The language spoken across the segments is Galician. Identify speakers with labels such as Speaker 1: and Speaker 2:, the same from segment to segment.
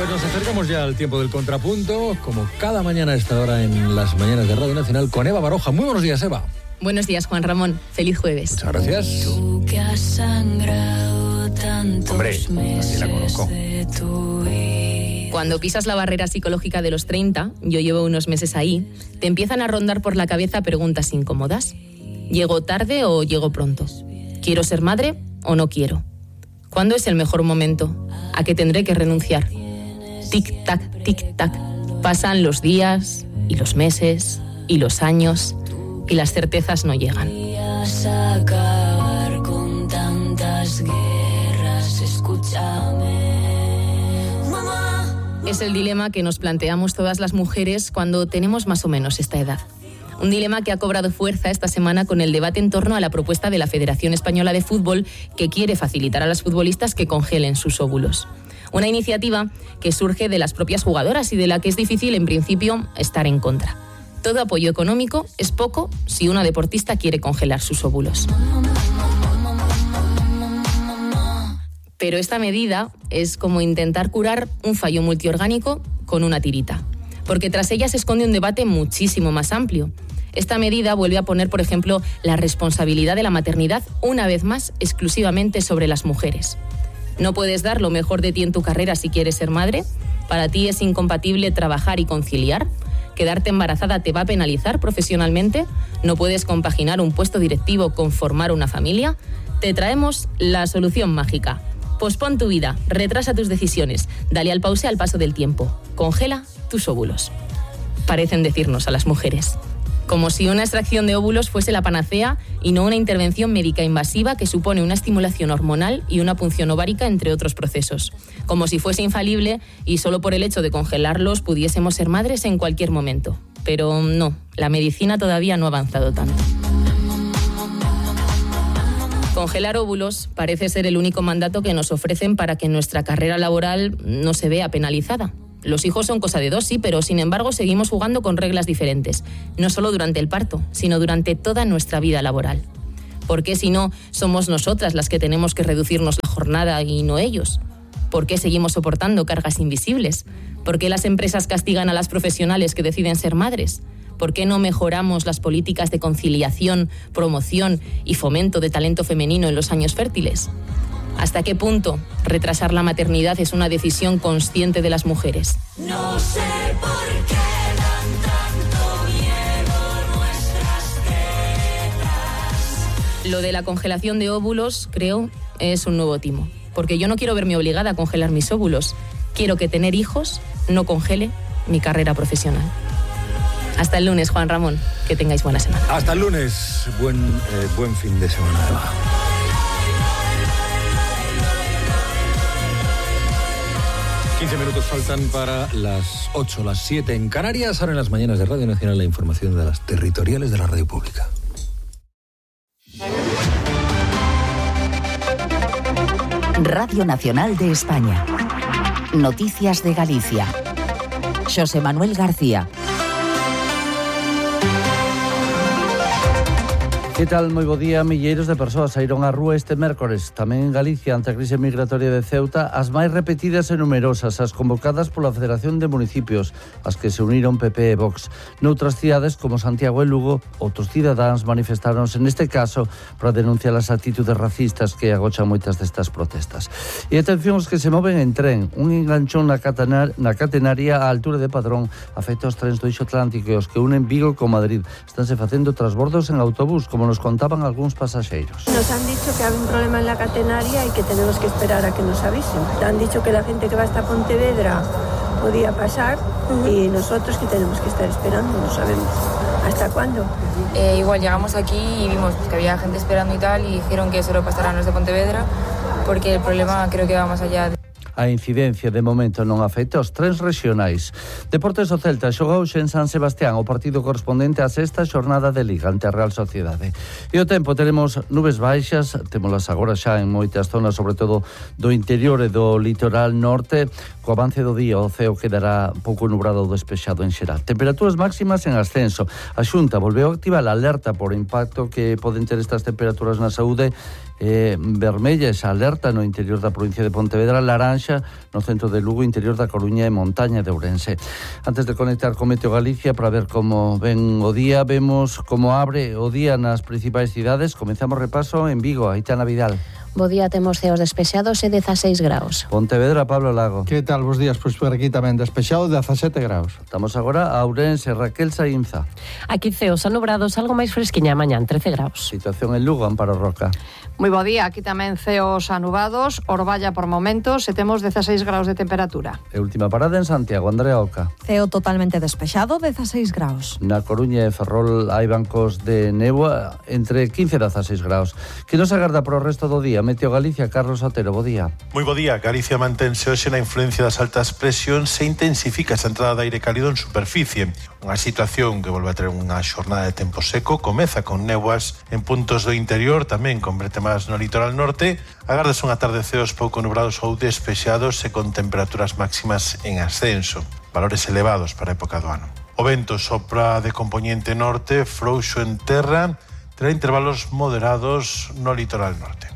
Speaker 1: Pues nos acercamos ya al tiempo del contrapunto, como cada mañana a esta hora en las mañanas de Radio Nacional, con Eva Baroja. Muy buenos días, Eva.
Speaker 2: Buenos días, Juan Ramón. Feliz jueves.
Speaker 1: Muchas gracias.
Speaker 3: Tú que has sangrado tantos
Speaker 1: Hombre, así la conozco.
Speaker 2: Cuando pisas la barrera psicológica de los 30, yo llevo unos meses ahí, te empiezan a rondar por la cabeza preguntas incómodas. ¿Llego tarde o llego pronto? ¿Quiero ser madre o no quiero? ¿Cuándo es el mejor momento? ¿A qué tendré que renunciar? Tic-tac, tic-tac. Pasan los días y los meses y los años y las certezas no llegan.
Speaker 3: Acabar con tantas guerras, escúchame. Mamá.
Speaker 2: Es el dilema que nos planteamos todas las mujeres cuando tenemos más o menos esta edad. Un dilema que ha cobrado fuerza esta semana con el debate en torno a la propuesta de la Federación Española de Fútbol, que quiere facilitar a las futbolistas que congelen sus óvulos. Una iniciativa que surge de las propias jugadoras y de la que es difícil, en principio, estar en contra. Todo apoyo económico es poco si una deportista quiere congelar sus óvulos. Pero esta medida es como intentar curar un fallo multiorgánico con una tirita, porque tras ella se esconde un debate muchísimo más amplio. Esta medida vuelve a poner, por ejemplo, la responsabilidad de la maternidad una vez más exclusivamente sobre las mujeres. ¿No puedes dar lo mejor de ti en tu carrera si quieres ser madre? ¿Para ti es incompatible trabajar y conciliar? ¿Quedarte embarazada te va a penalizar profesionalmente? ¿No puedes compaginar un puesto directivo con formar una familia? Te traemos la solución mágica. Pospon tu vida, retrasa tus decisiones, dale al pause al paso del tiempo. Congela tus óvulos. Parecen decirnos a las mujeres. Como si una extracción de óvulos fuese la panacea y no una intervención médica invasiva que supone una estimulación hormonal y una punción ovárica, entre otros procesos. Como si fuese infalible y solo por el hecho de congelarlos pudiésemos ser madres en cualquier momento. Pero no, la medicina todavía no ha avanzado tanto. Congelar óvulos parece ser el único mandato que nos ofrecen para que nuestra carrera laboral no se vea penalizada. Los hijos son cosa de dos, sí, pero sin embargo seguimos jugando con reglas diferentes. No solo durante el parto, sino durante toda nuestra vida laboral. ¿Por qué si no somos nosotras las que tenemos que reducirnos la jornada y no ellos? ¿Por qué seguimos soportando cargas invisibles? ¿Por qué las empresas castigan a las profesionales que deciden ser madres? ¿Por qué no mejoramos las políticas de conciliación, promoción y fomento de talento femenino en los años fértiles? ¿Hasta qué punto retrasar la maternidad es una decisión consciente de las mujeres?
Speaker 3: No sé por qué dan tanto miedo nuestras tetas.
Speaker 2: Lo de la congelación de óvulos, creo, es un nuevo timo. Porque yo no quiero verme obligada a congelar mis óvulos. Quiero que tener hijos no congele mi carrera profesional. Hasta el lunes, Juan Ramón. Que tengáis buena semana.
Speaker 1: Hasta el lunes. Buen fin de semana, Eva. Minutos faltan para las 8, las 7 en Canarias. Ahora en las mañanas de Radio Nacional la información de las territoriales de la radio pública.
Speaker 4: Radio Nacional de España. Noticias de Galicia. Xosé Manuel García.
Speaker 5: Que tal? Moi bo día. Milleiros de persoas saíron á rúa este mércores, tamén en Galicia, ante a crise migratoria de Ceuta, as máis repetidas e numerosas, as convocadas pola Federación de Municipios, as que se uniron PP e Vox. Noutras cidades, como Santiago e Lugo, outros cidadáns manifestáronse neste caso para denunciar as actitudes racistas que agochan moitas destas protestas. E atención os que se moven en tren. Un enganchón na catenaria á altura de Padrón afecta os trens do Eixo Atlántico e os que unen Vigo con Madrid. Estánse facendo transbordos en autobús, como nos contaban algúns pasaxeiros.
Speaker 6: Nos han dicho que hay un problema en la catenaria y que tenemos que esperar a que nos avisen. Han dicho que la gente que va hasta Pontevedra podía pasar y nosotros que tenemos que estar esperando, no sabemos hasta cuándo.
Speaker 7: Igual llegamos aquí y vimos que había gente esperando y tal y dijeron que solo pasarán los de Pontevedra porque el problema creo que va más allá de...
Speaker 5: A incidencia de momento non afecta aos trens rexionais. Deportes, o Celta xogou en San Sebastián o partido correspondente á sexta xornada de Liga ante a Real Sociedade. E o tempo, teremos nubes baixas, témolas agora xa en moitas zonas, sobre todo do interior e do litoral norte. Co avance do día o ceo quedará pouco nubrado ou despexado en xeral. Temperaturas máximas en ascenso. A Xunta volveu a activar a alerta por impacto que poden ter estas temperaturas na saúde vermella esa alerta no interior da provincia de Pontevedra, laranxa no centro de Lugo, interior da Coruña e montaña de Ourense. Antes de conectar con Meteo Galicia para ver como ven o día, vemos como abre o día nas principais cidades. Comenzamos repaso en Vigo, Aitana Vidal.
Speaker 8: Bo día, temos ceos despexados e 16 graus.
Speaker 5: Pontevedra, Pablo Lago.
Speaker 9: Que tal, bos días? Pois por aquí tamén despexado, 17 graus.
Speaker 5: Estamos agora a Ourense, Raquel Saínza.
Speaker 10: Aquí ceos anobrados, algo máis fresquiña mañán, 13 graus.
Speaker 5: Situación en Lugo, Amparo Roca.
Speaker 11: Moi bo día, aquí tamén ceos anubados, Orballa por momentos e temos 16 graus de temperatura.
Speaker 5: E última parada en Santiago, Andrea Oca.
Speaker 12: Ceo totalmente despexado, 16 graus.
Speaker 5: Na Coruña e Ferrol hai bancos de néboa entre 15 e 16 graus. Que nos agarda para o resto do día? Meteo Galicia, Carlos Otero, bo día.
Speaker 13: Moi bo día. Galicia mantense hoxe na influencia das altas presións e intensifica esa entrada de aire cálido en superficie. Unha situación que volve a ter unha xornada de tempo seco, comeza con néboas en puntos do interior, tamén con bretemas no litoral norte. Agardas unha tarde ceos pouco nubrados ou despexados e con temperaturas máximas en ascenso, valores elevados para a época do ano. O vento sopra de compoñente norte, frouxo en terra, terá intervalos moderados no litoral norte.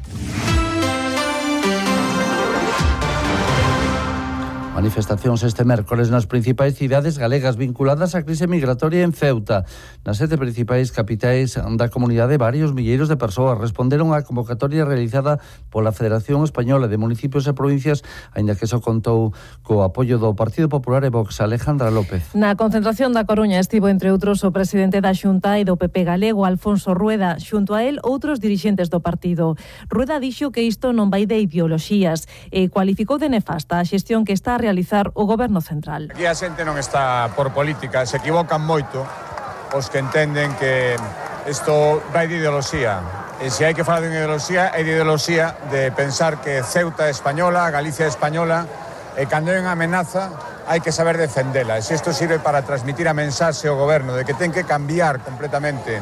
Speaker 5: Manifestacións este mércores nas principais cidades galegas vinculadas á crise migratoria en Ceuta. Nas 7 principais capitais da comunidade, varios milleiros de persoas responderon á convocatoria realizada pola Federación Española de Municipios e Provincias, aínda que só contou co apoio do Partido Popular e Vox. Alejandra López.
Speaker 14: Na concentración da Coruña estivo, entre outros, o presidente da Xunta e do PP galego, Alfonso Rueda. Xunto a él, outros dirixentes do partido. Rueda dixo que isto non vai de ideoloxías e cualificou de nefasta a xestión que está a realizar o Goberno Central.
Speaker 15: Aquí a xente non está por política, se equivocan moito os que entenden que isto vai de ideoloxía. E se hai que falar de ideoloxía, é de ideoloxía de pensar que Ceuta é española, Galicia é española, e cando hai unha amenaza hai que saber defendela. E se isto sirve para transmitir a mensaxe ao Goberno de que ten que cambiar completamente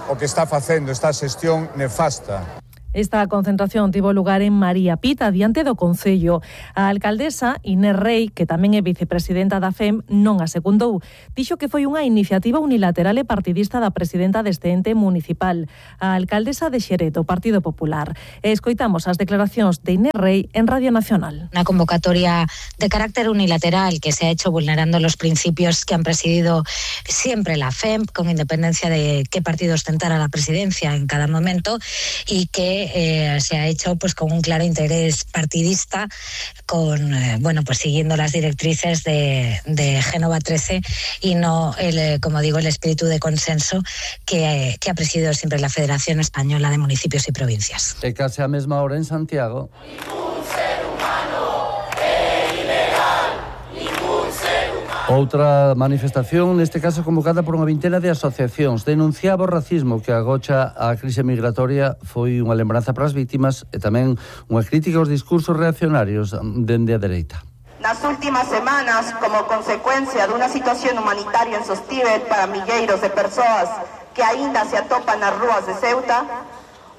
Speaker 15: o que está facendo esta xestión nefasta.
Speaker 14: Esta concentración tivo lugar en María Pita, diante do Concello. A alcaldesa Inés Rei, que tamén é vicepresidenta da FEM, non a secundou. Dixo que foi unha iniciativa unilateral e partidista da presidenta deste ente municipal, a alcaldesa de Xerez, do Partido Popular. E escoitamos as declaracións de Inés Rei en Radio Nacional.
Speaker 16: Una convocatoria de carácter unilateral que se ha hecho vulnerando los principios que han presidido siempre la FEM, con independencia de qué partido ostentara la presidencia en cada momento, y que se ha hecho pues con un claro interés partidista, con pues siguiendo las directrices de Génova 13 y no como digo, el espíritu de consenso que ha presidido siempre la Federación Española de Municipios y Provincias.
Speaker 5: E case a mesma hora en Santiago. Outra manifestación, neste caso convocada por unha vintena de asociacións, denunciaba o racismo que agocha a crise migratoria. Foi unha lembranza para as vítimas e tamén unha crítica aos discursos reaccionarios dende a dereita.
Speaker 17: Nas últimas semanas, como consecuencia dunha situación humanitaria insostível para milleiros de persoas que aínda se atopan nas rúas de Ceuta,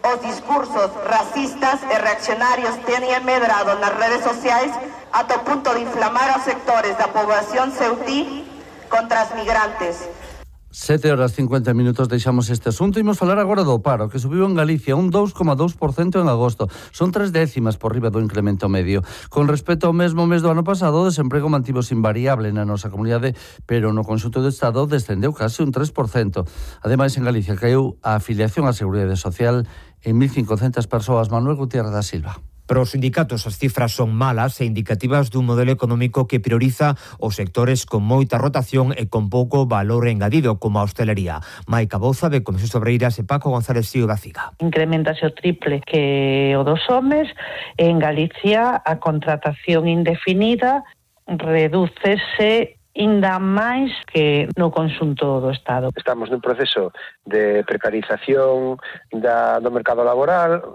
Speaker 17: os discursos racistas e reaccionarios teñen medrado nas redes sociais ata o punto de inflamar a sectores da poboación ceutí contra os migrantes.
Speaker 5: 7:50 deixamos este asunto. Imos falar agora do paro, que subiu en Galicia un 2,2% en agosto. Son 3 décimas por riba do incremento medio. Con respecto ao mesmo mes do ano pasado, o desemprego mantivose invariable na nosa comunidade, pero no conxunto do Estado descendeu case un 3%. Ademais, en Galicia caeu a afiliación á Seguridade Social en 1.500 persoas. Manuel Gutiérrez da Silva.
Speaker 18: Para os sindicatos as cifras son malas e indicativas dun modelo económico que prioriza os sectores con moita rotación e con pouco valor engadido, como a hostelería. Maica Bouza, de Comisións Obreiras, e Paco González Sío da CIGA.
Speaker 19: Incrementase o triple que o dos homes. En Galicia a contratación indefinida redúcese ainda máis que no conxunto do Estado.
Speaker 20: Estamos nun proceso de precarización do mercado laboral.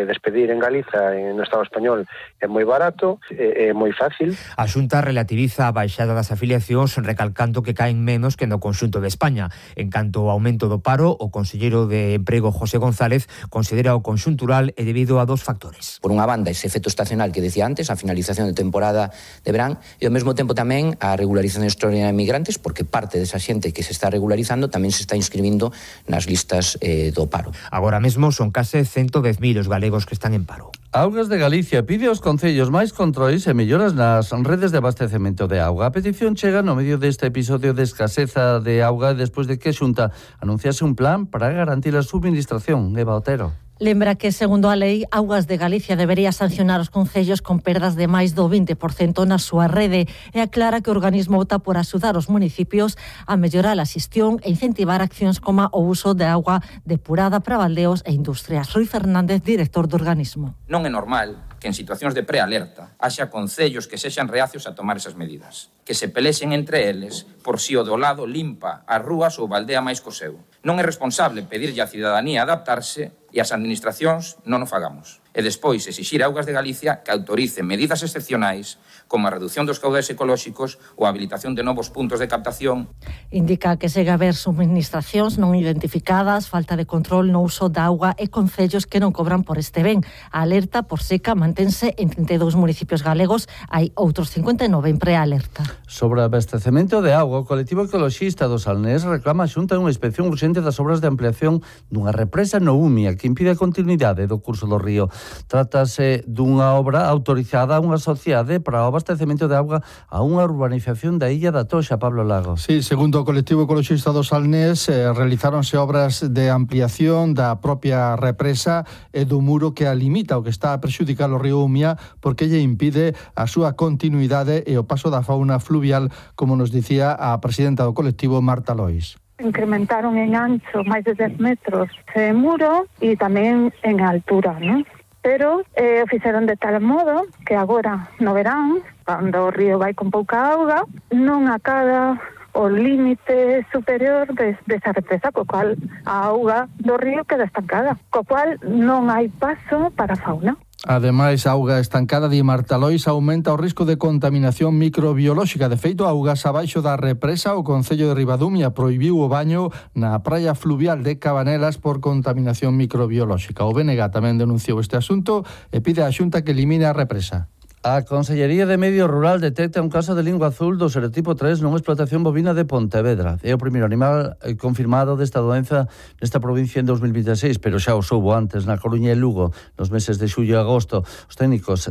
Speaker 20: Despedir en Galiza, no Estado español, é moi barato, é moi fácil.
Speaker 18: A Xunta relativiza a baixada das afiliacións, recalcando que caen menos que no conxunto de España. En canto ao aumento do paro, o conselleiro de Emprego, José González, considera o conxuntural e debido a 2 factores.
Speaker 21: Por unha banda, ese efecto estacional que decía antes, a finalización de temporada de verán, e ao mesmo tempo tamén a regularización situación extraordinaria de migrantes, porque parte desa xente que se está regularizando tamén se está inscribindo nas listas do paro.
Speaker 18: Agora mesmo son case 110.000 os galegos que están en paro.
Speaker 5: Augas de Galicia pide aos concellos máis controis e melloras nas redes de abastecemento de auga. A petición chega no medio deste episodio de escaseza de auga despois de que a Xunta anunciase un plan para garantir a subministración. Eva Otero.
Speaker 12: Lembra que, segundo a lei, Augas de Galicia debería sancionar os concellos con perdas de máis do 20% na súa rede e aclara que o organismo opta por axudar os municipios a mellorar a xestión e incentivar accións como o uso de auga depurada para baldeos e industrias. Rui Fernández, director do organismo.
Speaker 22: Non é normal que en situacións de prealerta haxa concellos que sexan reacios a tomar esas medidas, que se pelexen entre eles por si o do lado limpa as rúas ou baldea máis co seu. Non é responsable pedirlle á cidadanía adaptarse e as administracións non o fagamos. E despois exixir a Augas de Galicia que autorice medidas excepcionais como a reducción dos caudais ecolóxicos ou a habilitación de novos puntos de captación.
Speaker 12: Indica que segue a haber subministracións non identificadas, falta de control no uso da auga e concellos que non cobran por este ben. A alerta por seca mantense en 32 municipios galegos, hai outros 59 en prealerta.
Speaker 5: Sobre abastecemento de auga, o colectivo ecoloxista do Salnés reclama a Xunta unha inspección urxente das obras de ampliación dunha represa no Umia que impide a continuidade do curso do río. Trátase dunha obra autorizada a unha sociedade para o abastecemento de auga a unha urbanización da illa da Toxa, Pablo Lago.
Speaker 9: Sí, segundo o colectivo ecoloxista do Salnés, realizáronse obras de ampliación da propia represa e do muro que a limita, o que está a perxudicar o río Umia porque lle impide a súa continuidade e o paso da fauna fluvial, como nos dicía a presidenta do colectivo, Marta Lois.
Speaker 23: Incrementaron en ancho máis de 10 metros de muro e tamén en altura, ¿no? Pero o fixeron de tal modo que agora no verán, cando o río vai con pouca auga, non acada o límite superior desa represa, co cual a auga do río queda estancada, co cual non hai paso para a fauna.
Speaker 9: Ademais, a auga estancada de Marta Lois aumenta o risco de contaminación microbiolóxica. De feito, augas abaixo da represa, o Concello de Ribadumia prohibiu o baño na praia fluvial de Cabanelas por contaminación microbiolóxica. O BNG tamén denunciou este asunto e pide á Xunta que elimine a represa.
Speaker 5: A Consellería de Medio Rural detecta un caso de lingua azul do serotipo 3 nunha explotación bovina de Pontevedra. É o primeiro animal confirmado desta doenza nesta provincia en 2026, pero xa o soubo antes na Coruña e Lugo nos meses de xullo e agosto. Os técnicos